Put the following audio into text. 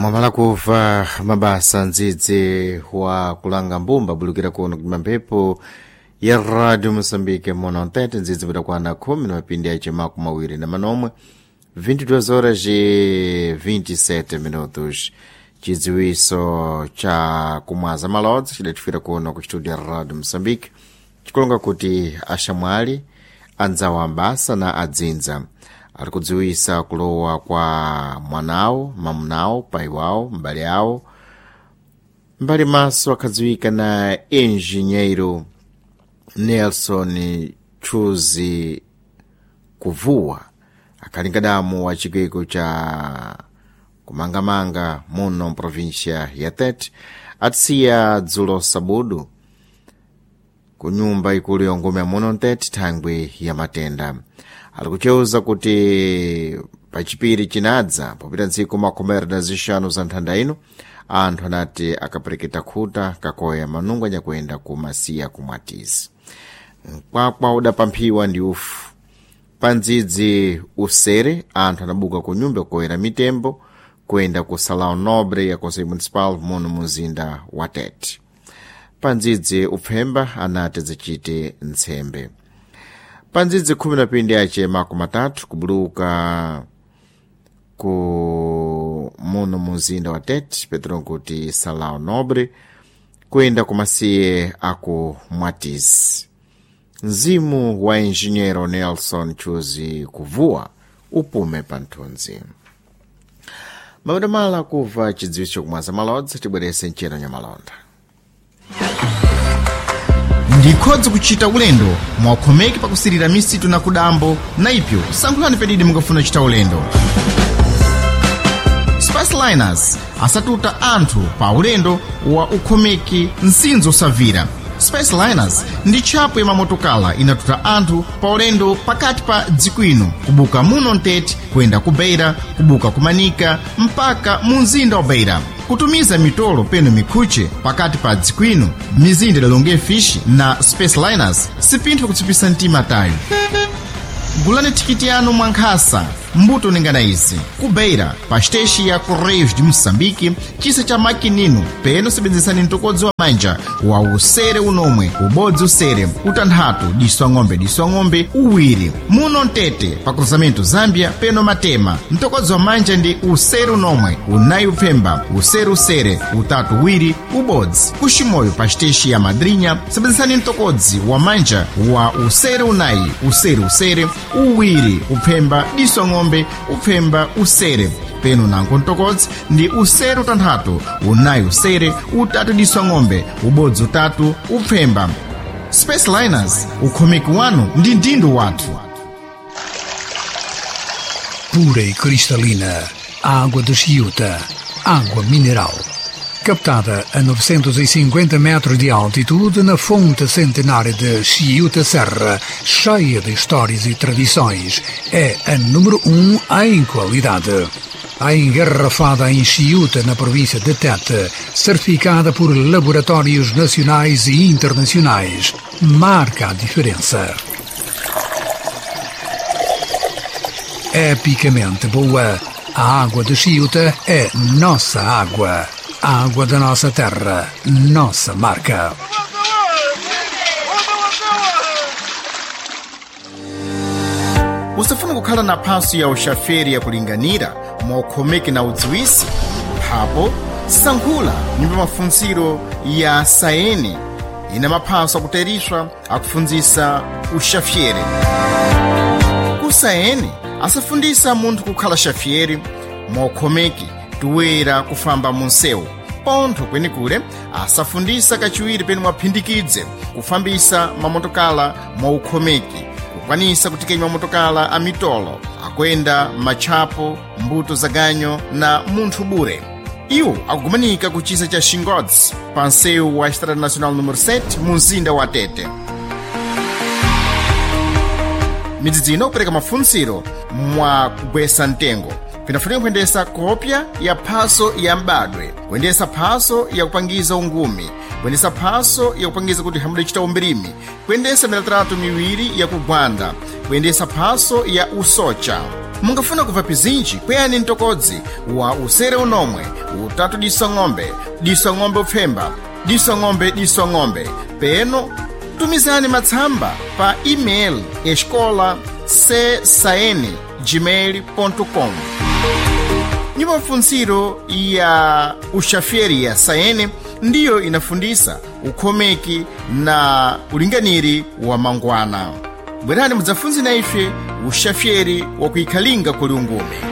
Mwamala kuva mabasa ndzidzi wa kulanga mbumba bulukira kuno kupima mphepo ya Radio Moçambique mono ntete ndzidzi padakwana khumi na mapindi ace makumi awiri na manomwe 22 horas e 27 minutos. Chidziwiso cha kumwaza malodzi chidatifira kuno ku studio ya Radio Moçambique chikulonga kuti axamwali anzawo ambasa na adzinza ari kudziwisa kulowa kwa mwanawo, mamunawo, pai wawo, mbale awo mbali maso akhadziwika na enjinheiro Nelson Chuzi Kuvuwa akhalinga damu wa chikweko cha kumangamanga muno mprovincia ya Tete atisiya dzulo sabudu ku nyumba ikulu yongome ya muno Ntete thangwi ya matenda. Ali kucheuza kuti pachipiri chinadza popita ntsiku makumi awiri na zixanu za nthanda ino anthu anati akapereketa khuta kakoya manungo anyakuenda ku masiya kumwatizi. Mkwakwa udapamphiwa ndi ufu pa ndzidzi usere anthu anabuka ku nyumba koyera mitembo kuyenda ku Salão Nobre ya Conselho Municipal muno muzinda wa Tete. Pa ndzidzi upfemba anati zichite ntsembe. Pa ndzidzi khumi na pindi ace makumi atatu kubuluka ku muno muzinda wa Tete petro nkuti Salão Nobre kuyenda ku masiye aku Mwatizi. Mzimu wa enjinheiro Nelson Chuzi Kuvuwa upume pa nthunzi. Mapadamala kuva chidziwitso kumwaza malodzi tibwerese mchero nyamalonda. Ndikhodzi kuchita ulendo mwakhomeki pakusirira misitu na kudambo na ipyo sankhulani pedidi mukafuna kuchita ulendo. Spaceliners asatuta anthu pa ulendo wa ukhomeki msinzo usavira. Spaceliners ndi tchapo ya mamotokala inatuta anthu pa ulendo pakati pa dziko ino kubuka muno Mtete kuyenda ku Beira, kubuka ku Manika mpaka mu mzinda wa Beira, kutumiza mitolo peno mikhuche pakati pa dziko ino mizinda idalonge fish na Spaceliners sipinthu kutsipisa mtima tayo. Gulani thikiti yanu mwankhasa mbuto ningana izi ku Beira pa xiteshi ya Correios de Moçambique chisa cha makinino peno sebenzesani mtokodzi wa manja wa usere unomwe ubodzi usere utanthatu diso ng'ombe diso ng'ombe uwiri muno Mtete pa cruzamento Zambia peno Matema mtokodzi wa manja ndi usere unomwe unayi upfemba usere usere utatu uwiri ubodzi kuximoyo pa xiteshi ya Madrinha sebenzesani mtokodzi wa manja wa usere unayi usere usere uwiri upfemba diso ng'ombe upfemba usere peno nango mtokodzi ndi usere utanthatu unayi usere utatu diso ng'ombe ubodzi utatu upfemba. Spaceliners ukhomeki wanu ndi ndindo wathu. Pura e cristalina, água de Chiuta, água mineral. Captada a 950 metros de altitude na fonte centenária de Chiuta Serra, cheia de histórias e tradições, é a número 1 em qualidade. A engarrafada em Chiuta, na província de Tete, certificada por laboratórios nacionais e internacionais, marca a diferença. Epicamente boa, a água de Chiuta é nossa água. A água da nossa terra, nossa marca. Usafuna kukhala na phaso ya uxaferi yakulinganira mwaukhomeki na udziwisi phapo sankhula nyumba mafuntsiro ya saeni ina maphaso akuteriswa akufundzisa uxafyere. Ku saeni asafundisa munthu kukhala xafyeri mwaukhomeki toera kufamba munsewu pontho kwenikule asafundisa kachiwiri penu mwaphindikidze kufambisa mamotokala mwaukhomeki kukwanisa kutikenya mamotokala a mitolo akuyenda matchapo mbuto za ganyo na munthu bure. Iwo akugumanika ku chisa cha Xingodzi pa nsewu wa Estrada Nacional número 7 mu mzinda wa Tete. Midzidzi ino kupereka mafuntsiro mwa kugwesa mtengo pinafunika kuyendesa kopya ya phaso ya m'badwe, kuyendesa phaso yakupangiza ungumi, kuyendesa phaso yakupangiza kuti hamudachita umbirimi, kuyendesa milatratu miwiri yakugwanda, kuyendesa phaso ya usocha. Mungafuna kubva pizinji kweyani mtokodzi wa usere unomwe Utatu diso ng'ombe, diso ng'ombe upfemba, diso ng'ombe, diso ng'ombe. Peno tumizani matsamba pa email escola csaen gmail.com. Nyumba mafunziro ya uxafyeri ya saene ndiyo inafundisa ukhomeki na ulinganiri wa mangwana. Bwerani mudzafunze na ife uxafyeri wa kuikhalinga kuli ungume.